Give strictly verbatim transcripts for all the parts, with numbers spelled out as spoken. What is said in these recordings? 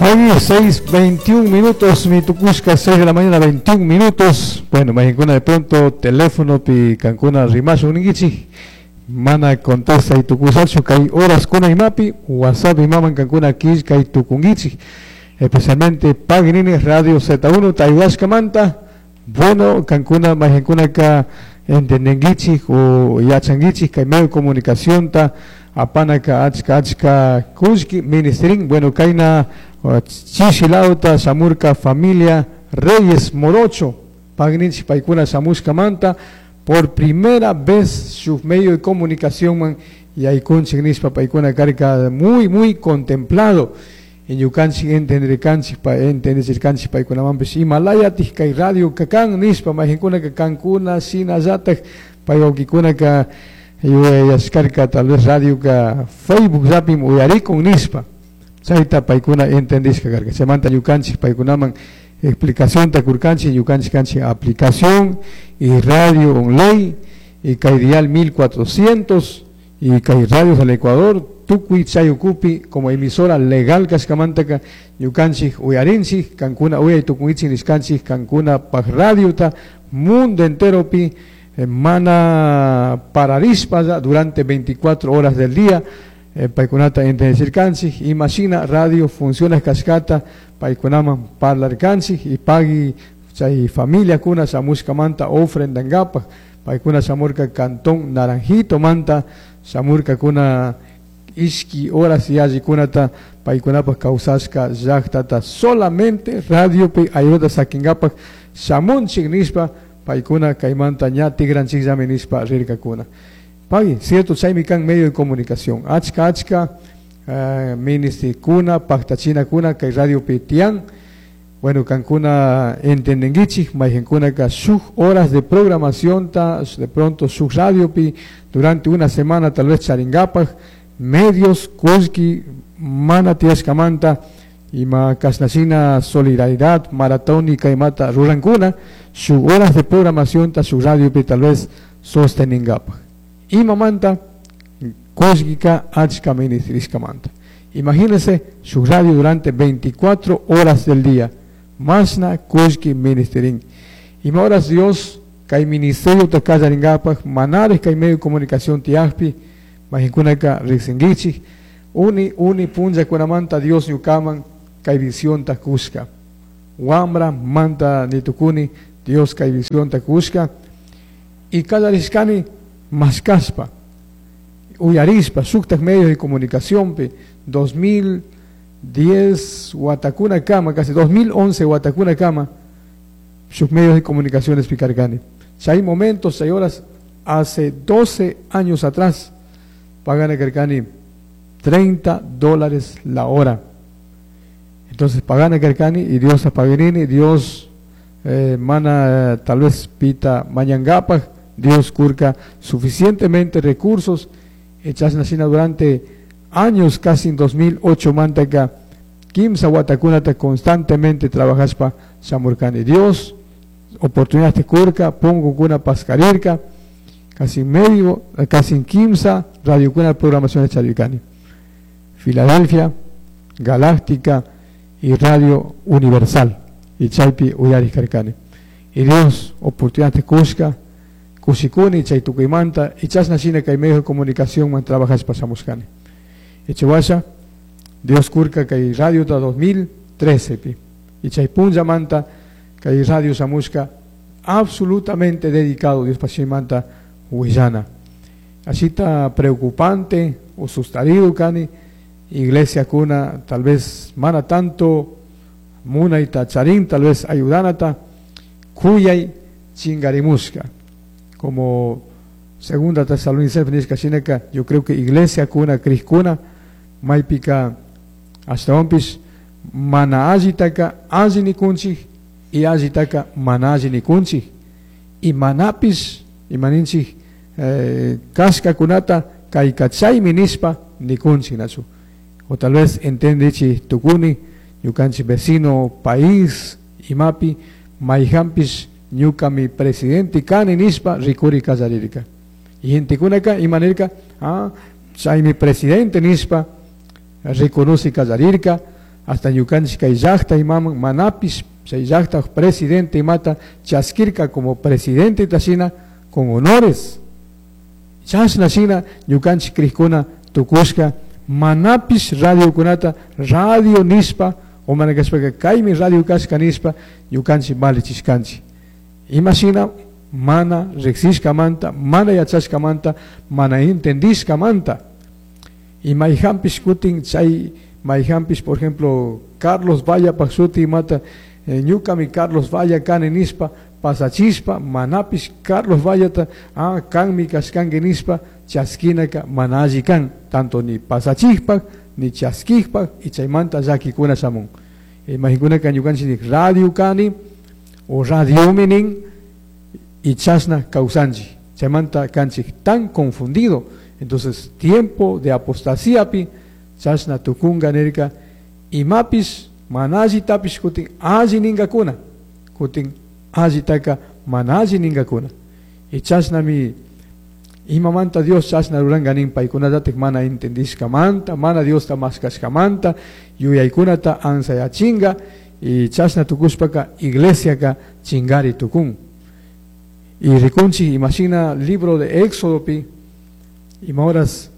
Hoy seis veintiún minutos, mi tucushka, seis de la mañana, veintiún minutos. Bueno, majinkuna de pronto, teléfono pi kankuna rimashu ninguichi. Mana contesta y tucusacho, kay horas kuna imapi, WhatsApp imaman kankuna killka y tukunguichi. Especialmente Paginini Radio Z uno, Tayhuasca Manta. Bueno, kankuna, majinkuna ka entendenguichi o yachanguichi, kay medio de comunicación ta apanaka achka achka kushki ministerin. Bueno, kayna chishilauta samurka familia Reyes Morocho, Pagninchi paikuna samushka manta, por primera vez su medio de comunicación man, y aykunchik nispa paikuna karka muy muy contemplado. En yukanchik entenderkanchik pa entenderkanchik paikunamanpish Himalayatij kay radio kakan nispa majinkuna ka kankuna shinallataj paywawkikuna ka yuyayashkarka tal vez radio ka Facebook llapim uyarikun nispa. Chayta paykuna entendishka karka. Chaymanta ñukanchik paykunaman explicación ta kurkanchik, ñukanchik kanchik aplicación y radio online y kay dial mil cuatrocientos y kay radios del Ecuador tukuy chayukupi como emisora legal kashkamantaka ñukanchik uyarinchik kankuna uyay tukunchik nishkanchik kankuna paj radiota mundo enteropi, eh, mana pararispa ya durante veinticuatro horas del día. Eh, paykunata entendechirkanchik, imashina radio funciona kashkata paykunaman parlarkanchik y pagui chay familia kuna shamushkamanta ofrendankapaj paykuna shamurka cantón Naranjito manta shamurka kuna ishki horas yallikunata paykunapaj kawsashka llaqtata solamente radiopi ayuda sakinkapaj shamunchik nishpa paykuna kaymanta ña tigranchikllami nishpa rirkakuna. Pagui, cierto, chaymi kan medio de comunicación. Achka, achka, eh, ministikuna, paktachina kuna, kay radio pitian. Bueno, kankuna entendenguichik, maygenkuna ka shuj horas de programación ta, de pronto shuj radio pi, durante una semana tal vez charingapaj, medios, kushki, mana tiashkamanta, ima kasnashina solidaridad, maratónica y mata rurankuna, shuj horas de programación ta, shuj radio pi tal vez sosteningapaj. Imamanta, kushkika, achka ministrishkamanta. Imagínense su radio durante veinticuatro horas del día. Masna kushki ministerin. Ima horas Dios, kay ministerio takallaringapaj, manares kay medio de comunicación tiajpi, majikunaka riksingichik, uni, uni punlla kunamanta Dios ñukaman, kay visión takushka. Wambra manta nitukuni, Dios kay visión takushka. Y kallarishkani mascaspa, uyarispa, shuktak medios de comunicación, pe, dos mil diez Huatacuna Kama, casi dos mil once Huatacuna Kama, sus medios de comunicación explicargani. Si hay momentos, hay horas, hace doce años atrás, pagan a Carcani treinta dólares la hora. Entonces pagan a Carcani y Dios a Paganini, Dios, eh, mana, tal vez pita mañangapa, Dios curca suficientemente recursos, hechas nacina durante años, casi en dos mil ocho manteca, quimsa huatacunata constantemente trabajaspa chamurcani. Dios, oportunidad te curca, pongo cuna pascarirca, casi medio, casi en quimsa, radio cuna programación de Charicani. Filadelfia, Galáctica y Radio Universal, y Chaypi Uyaris Carcani. Y Dios, oportunidad te cusca, Kusikuni, Chaytukuymanta, y chasna shina kay medio de comunicación man trabajas pasamuscani. Echewasha, Dios curca kay radio ta dos mil trece pi. Y chaypunlla manta kay radio samusca absolutamente dedicado Dios pasimanta huillana. Así está preocupante o sustarido cani, iglesia cuna tal vez mana tanto muna y tacharín tal vez ayudanata cuyay chingarimusca. Como segunda Tesalonicenses nishka shinaka, yo creo que iglesia kuna criskuna maypika ashtawanpish mana allitaka alli nikunchik y allitaka mana alli nikunchik y manapis imaninchik, eh, kashkakunata kaykachaymi nishpa nikunchik nachu. O tal vez entendichi tukuni ñukanchik vecino país imapi mayhanpish ñuka mi presidente kani nishpa rikuri kallarirka. Y gentekunaka imanirka, ah, chaymi presidente nishpa reconoce kallarirka, Hasta ñukanchik kay llaqta imaman manapish chay llaqta presidente imata chaskirka como presidente tashina con honores. Chashna shina ñukanchik krikuna tukushka manapish radiokunata radio nishpa o mana kashpaka kaymi radio kashka nishpa ñukanchik valichishkanchik. Imashina mana riksishkamanta, mana yachashkamanta, mana entendishkamanta. Y mayhampish kutin chay mayhampish, por ejemplo, Carlos Valla shuti imata eh, ñukami Carlos Valla kani nishpa pasachispa manapish Carlos Vallata ah kanmi kashkanki nishpa chaskinaka mana alli kan, tanto ni pasachikpak ni chaskikpak y chaymanta llakikuna shamun. Imaginkunaka ñukanchik nik radio kani o radiomi nin y chashna kawsanchik. Chaymanta kanchik tan confundido. Entonces, tiempo de apostasía pi chashna tukunga nirka imapish mana allitapish kutin alli ningakuna, kutin allitaka mana alli ningakuna. Y chashnami imamanta Dios chashna ruranga nin paykunatatik mana entendishkamanta, mana Diosta mashkashkamanta, yuyaykunata ansayachinga y chashna tukushpaka iglesiaka chingari tukun. Y rikunchik imashina libro de Éxodo pi ima horas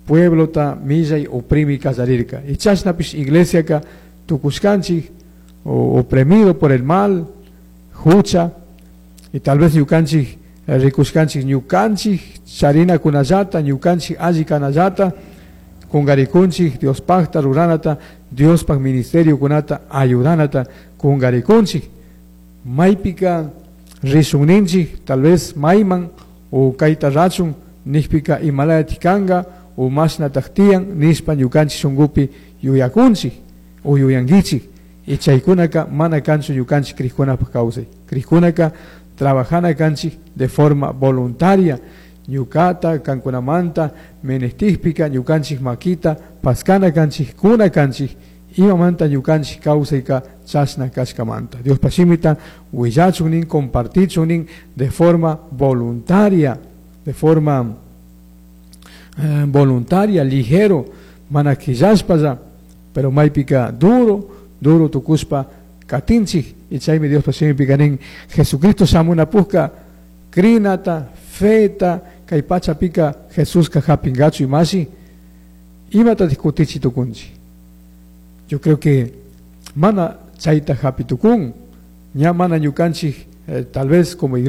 pueblota millay oprimi kallarirka. Y chashnapish iglesiaka tukushkanchik o oprimido por el mal, hucha, y tal vez ñukanchik eh, rikushkanchik ñukanchik charinakunallata, ñukanchik alli kanallata, kungarikunchik Diospakta ruranata, Diospak ministerio kunata ayudanata kungarikunchik. Maypika rishunninchik, tal vez mayman o kayta rachun nishpika imalayatik kanka o mashnatak tiyan nishpa ñukanchik shunkupi yuyakunchik o yuyankichik. Y chaykunaka mana kanchu ñukanchik krikkunapak kawsay. Krikkunaka trabajana kanchik de forma voluntaria. Ñukata kankunamanta menestijpika ñukanchik makita paskana kanchik kuna kanchik imamanta ñukanchik kawsayka chashna kashkamanta. Diospa shimita willachun nin compartichun nin de forma voluntaria, de forma eh, voluntaria, ligero, mana quillashpalla, pero maypika duro, duro tukushpa katinchik y chaymi Diospa shimipika nin Jesucristo shamunapukka crinata, feta, kay pachapika Jesuska hapingachu imashi, imata kutichi tukunchik. Yo creo que mana chayta hapi tukun, ña mana ñukanchik eh, tal vez como iglesia